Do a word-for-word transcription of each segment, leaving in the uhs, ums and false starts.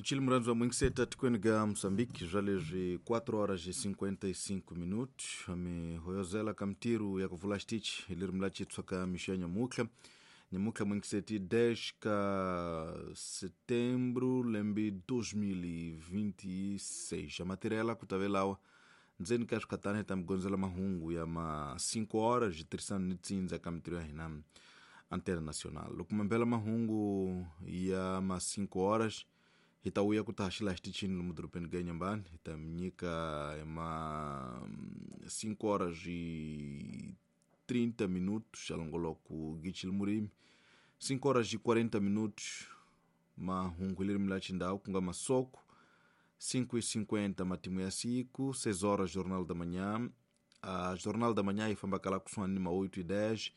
Chile muranzu mwinkiseta tikweni ga Moçambique zwa quatro horas e cinquenta e cinco minutos amihoyozela kamtiru ya kuvula xitichi iliri mlachitswa ka mixo ya nyamutlha nyamutlha mwinkiseti dez ka setembro lembe dois mil e vinte e seis amatirela kutavelawa ndzeni ka swikhatani hi ta migondzela mahungu ya ma cinco horas hi tirhisana ni tsindza ka mitirho ya hina Antena Nacional. Loko mambela mahungu ya ma cinco horas hi ta vuya ku ta haxela xitichini lomu dorobeni ga Inhambane hi ta mi nyika ma cinco horas e trinta minutos xalongoloko gichili murimi cinco horas e quarenta minutos mahungu hi ririmi la xindhawu ku nga masoko cinco e cinquenta matimu ya siku seis horas Jornal da Manhã. A Jornal da Manhã yi fambaka la kusuhani ni ma oito e dez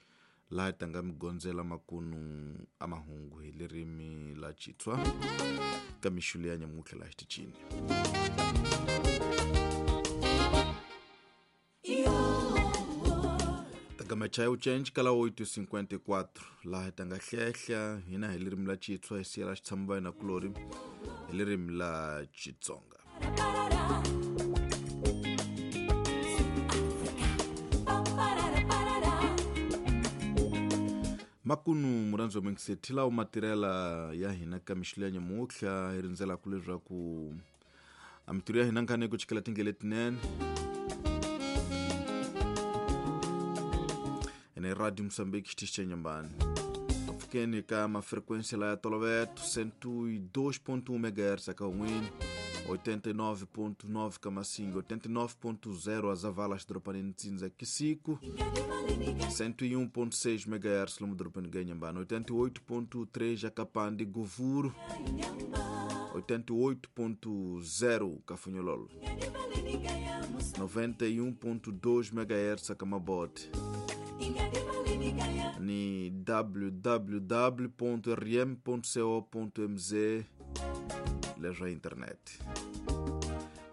laha hi tanga migondzela makunu a mahungu hi ririmi la Xitswa ka mixulo ya nyamutlha laha xitichini. Tagamacha uchenji kala oito e cinquenta e quatro laha hi tanga hlehla hina hi ririmi la Xitswa hi siyela xitshamo va hina kulori hi ririmi la Xitsonga. Makunu muranzo mwinkiseti lawo matirela ya hina ka mixulo ya nyamutlha hi rindzelaku leswaku a mitirho ya hina nkhani ku chikela tindlela letinene ene Radio Moçambique xitichi xa Inhambane pfukeni ka mafrequência la ya toloveto cento e dois ponto um megahertz aka un'wini oitenta e nove ponto nove ka Massinga oitenta e nove ponto zero Azavalas Dropanini Tsinza Kisiku cento e um ponto seis megahertz lomu dorobeni ga Inhambane oitenta e oito ponto três Acapande Govuro oitenta e oito ponto zero Cafunhololo noventa e um ponto dois megahertz Acamabote ni w w w ponto r m ponto co ponto m z leja internet.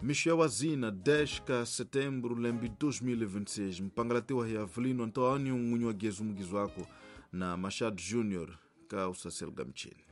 Michel Azina, dez de setembro lembe dois mil e vinte e seis mpangalatiwa ya Avelino Antônio Ngunho Aguezu Mugizwako na Machado Júnior ka usasel gamchini.